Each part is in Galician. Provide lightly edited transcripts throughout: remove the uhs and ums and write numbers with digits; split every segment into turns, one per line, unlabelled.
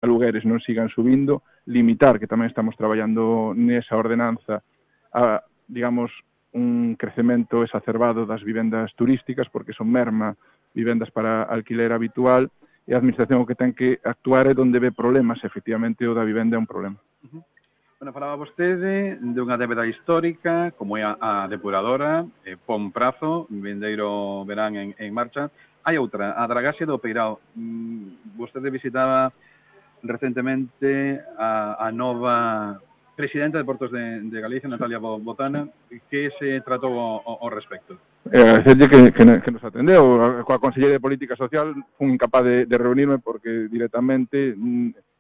alugueres non sigan subindo, limitar, que tamén estamos traballando nesa ordenanza, a, digamos, un crecemento exacerbado das vivendas turísticas, porque son merma vivendas para alquiler habitual, e a Administración o que ten que actuar é onde ve problemas, efectivamente o da vivenda é un problema.
Bueno, falaba vostede dunha débeda histórica, como é a depuradora, pon prazo, vindeiro verán en marcha. Hai outra, a dragaxe do Peirao. Vostede visitaba recentemente a nova presidenta de Portos de Galicia, Natalia Botana. Que se tratou ao respecto?
Agradecerlle que nos atendeu. Coa Conselleira de Política Social fun incapaz de reunirme porque directamente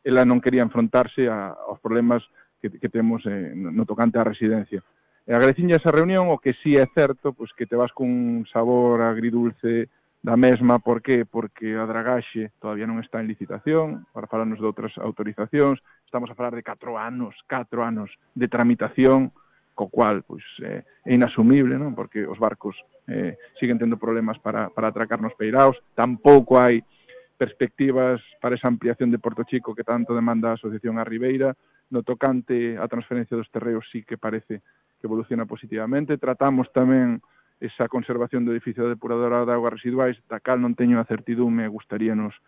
ela non quería enfrontarse aos problemas que temos no tocante á residencia. Agradecinlle esa reunión, o que sí é certo, pois que te vas cun sabor agridulce da mesma. Por qué? Porque a dragaxe todavía non está en licitación, para falarnos de outras autorizacións. Estamos a falar de 4 anos de tramitación, co cual pois, é inasumible, non? Porque os barcos siguen tendo problemas para atracar nos peiraos. Tampouco hai perspectivas para esa ampliación de Porto Chico que tanto demanda a Asociación A Ribeira. No tocante a transferencia dos terreos sí que parece que evoluciona positivamente. Tratamos tamén esa conservación do edificio da depuradora de augas residuais, da cal non teño a certidume, gustaríanos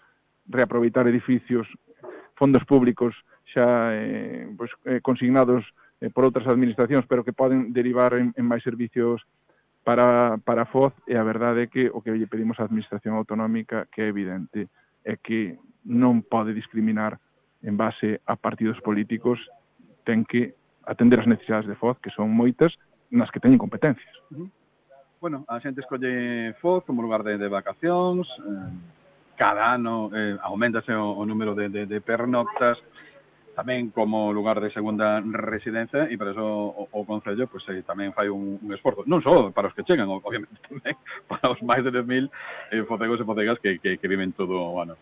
reaproveitar edificios, fondos públicos xa consignados por outras administracións, pero que poden derivar en máis servicios para FOZ, e a verdade é que o que lle pedimos á Administración Autonómica, que é evidente, é que non pode discriminar en base a partidos políticos, ten que atender as necesidades de FOZ, que son moitas, nas que teñen competencias.
Bueno, a xente escolle FOZ como lugar de vacacións, cada ano aumentase o número de pernoctas, tamén como lugar de segunda residencia, e por eso o Concello pues, tamén fai un esforzo, non só para os que chegan, obviamente tamén para os máis de 10.000 focegos e focegas que viven todo o ano.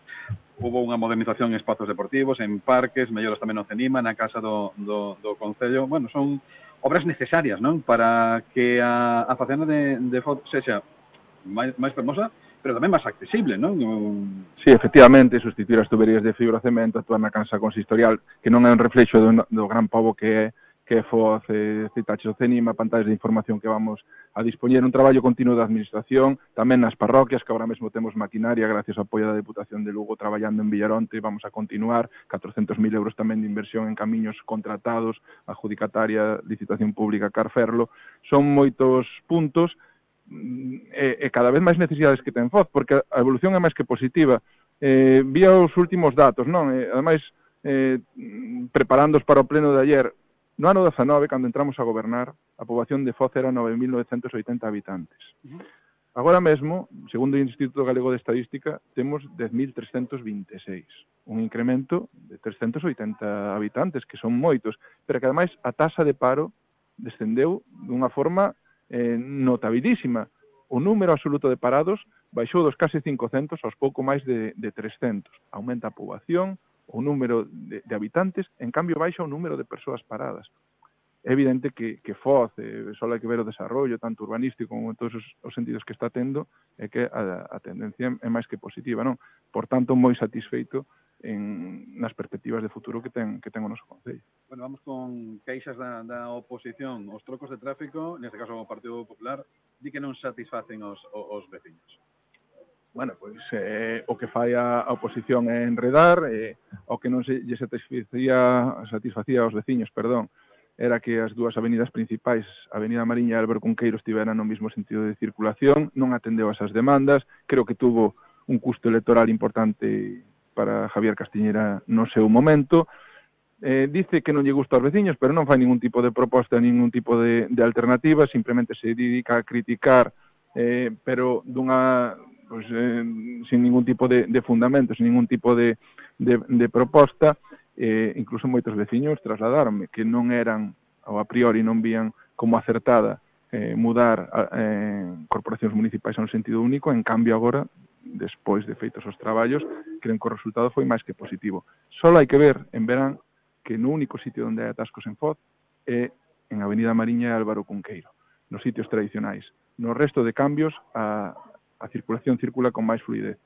Hubo unha modernización en espazos deportivos, en parques, melloras tamén no CENIMA, na casa do Concello. Bueno, son obras necesarias, non? Para que a facenda de FOZ sexa máis fermosa, pero tamén máis accesible, non?
Sí, efectivamente, sustituir as tuberías de fibrocemento, actuar na cansa consistorial, que non é un reflexo do gran pobo que é FOZ, citaches o CENIMA, pantallas de información que vamos a dispoñer, un traballo continuo da Administración, tamén nas parroquias, que agora mesmo temos maquinaria, gracias ao apoio da Deputación de Lugo, traballando en Villaronte, vamos a continuar, 400.000 euros tamén de inversión en camiños contratados, adjudicataria, licitación pública, Carferlo. Son moitos puntos, e cada vez máis necesidades que ten FOZ, porque a evolución é máis que positiva. Vía os últimos datos, non? Ademais, preparándoos para o pleno de ayer, no ano 19, cando entramos a gobernar, a poboación de FOZ era 9.980 habitantes. Agora mesmo, segundo o Instituto Galego de Estadística, temos 10.326, un incremento de 380 habitantes, que son moitos, pero que ademais a taxa de paro descendeu dunha forma notabilísima. O número absoluto de parados baixou dos case 500 aos pouco máis de 300. Aumenta a poboación, o número de habitantes, en cambio baixa o número de persoas paradas. É evidente que FOZ, só hai que ver o desarrollo, tanto urbanístico como en todos os sentidos que está tendo, é que a tendencia é máis que positiva, non? Por tanto, moi satisfeito nas perspectivas de futuro que ten o noso Concello.
Bueno, vamos con queixas da oposición. Os trocos de tráfico, neste caso o Partido Popular, di que non satisfacen os veciños.
Bueno, pois o que fai a oposición é enredar, o que non lle satisfacía aos veciños, era que as dúas avenidas principais, a Avenida Mariña e Álvaro Cunqueiro, estiveran no mesmo sentido de circulación, non atendeu a esas demandas, creo que tuvo un custo electoral importante para Javier Castiñeira no seu momento. Dice que non lle gusta aos veciños, pero non fai ningún tipo de proposta, ningún tipo de alternativa, simplemente se dedica a criticar, pero sin ningún tipo de fundamento, sin ningún tipo de proposta. Incluso moitos veciños trasladaronme que non eran, ou a priori non vían como acertada mudar corporacións municipais a un sentido único. En cambio agora, despois de feitos os traballos, creen que o resultado foi máis que positivo. Só hai que ver en verán que no único sitio onde hai atascos en FOZ é en Avenida Mariña e Álvaro Cunqueiro, nos sitios tradicionais. No resto de cambios, a circulación circula con máis fluidez.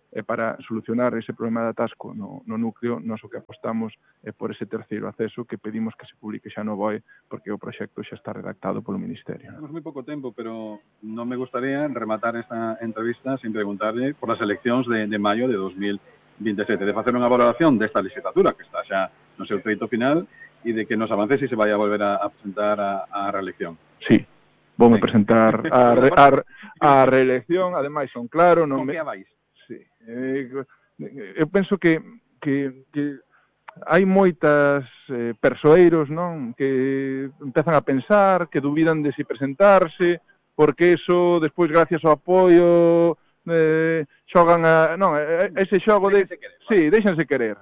E para solucionar ese problema de atasco no núcleo, nós o que apostamos é por ese terceiro acceso que pedimos que se publique xa no BOE, porque o proxecto xa está redactado polo Ministerio.
Tenemos moi pouco tempo, pero non me gustaría rematar esta entrevista sin preguntarle por as eleccións de maio de 2027, de facer unha valoración desta legislatura, que está xa no seu treito final, e de que nos avance se vai a volver a presentar a reelección.
Sí, voume presentar a reelección, ademais son claro...
Con que a vais?
Sí. Eu penso que hai moitas persoeiros, non, que empezan a pensar, que dubidan de si presentarse, porque eso, despois, gracias ao apoio, xogan a... Non, ese xogo de... Sí, déxanse querer.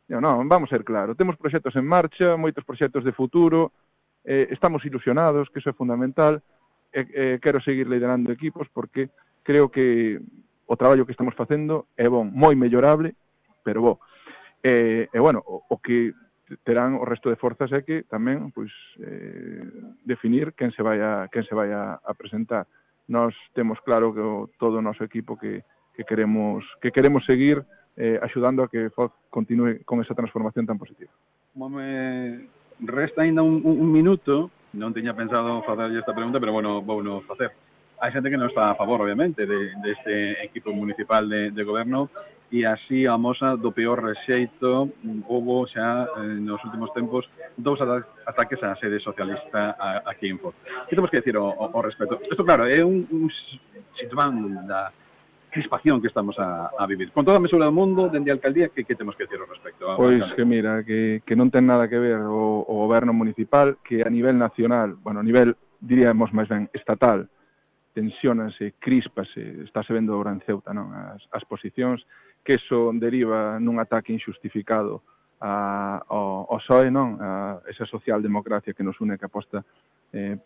Non, vamos ser claro, temos proxectos en marcha, moitos proxectos de futuro, estamos ilusionados, que iso é fundamental, quero seguir liderando equipos, porque creo que o traballo que estamos facendo é bon, moi mellorable, pero bo. Bueno, o que terán o resto de forzas é que tamén pois definir quen se vai a presentar. Nós temos claro que todo o noso equipo que queremos seguir axudando a que FOZ continue con esa transformación tan positiva.
Como me resta ainda un minuto, non tiña pensado facerlle esta pregunta, pero bueno, vouno facer. Hai xente que non está a favor, obviamente, deste equipo municipal de goberno e así a mosa do peor rexeito houbo xa nos últimos tempos 2 ataques á sede socialista aquí en Foz. Que temos que decir ao respecto? Isto, claro, é un síntoma da crispación que estamos a vivir. Con toda a mesura do mundo, dende a alcaldía, que temos que decir ao respecto?
Pois que mira, que non ten nada que ver o goberno municipal, que a nivel nacional, bueno, a nivel, diríamos máis ben, estatal, tensiónase, críspase, estáse vendo agora en Ceuta, non? As posicións, que eso deriva nun ataque injustificado ao PSOE, non? A esa socialdemocracia que nos une, que aposta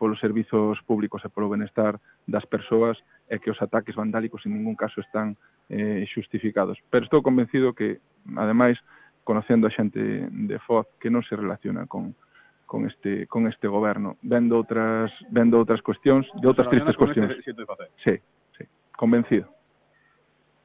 polos servizos públicos e polo benestar das persoas, e que os ataques vandálicos en ningún caso están xustificados. Pero estou convencido que, ademais, conocendo a xente de Foz, que non se relaciona con este goberno, vendo outras cuestións, de outras tristes cuestións. Sí, convencido.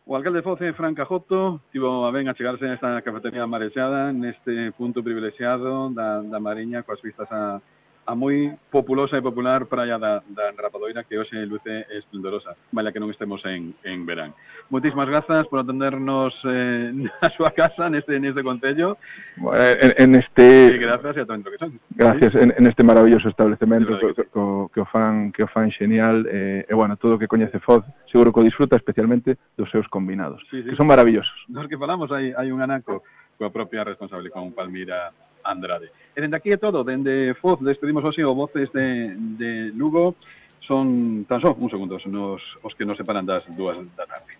O alcalde de Foz, Fran Cajoto, tivo a ben a chegarse nesta cafetería marexada, neste punto privilexiado da Mariña, coas vistas a moi populosa e popular praia da Rapadoira, que hoxe luce esplendorosa, vale que non estemos en verán. Moitísimas grazas por atendernos na súa casa, neste concello. Grazas e a todo que son.
Gracias, en este maravilloso establecemento que o fan xenial, e bueno, todo o que coñece Foz, seguro que o disfruta, especialmente dos seus combinados, que son maravillosos.
Nos que falamos hai un anaco coa propia responsable, con Palmira Andrade. E dende aquí é todo, dende Foz despedimos hoxe o Voces de Lugo. Son tan só uns segundos os que nos separan das 2 da tarde.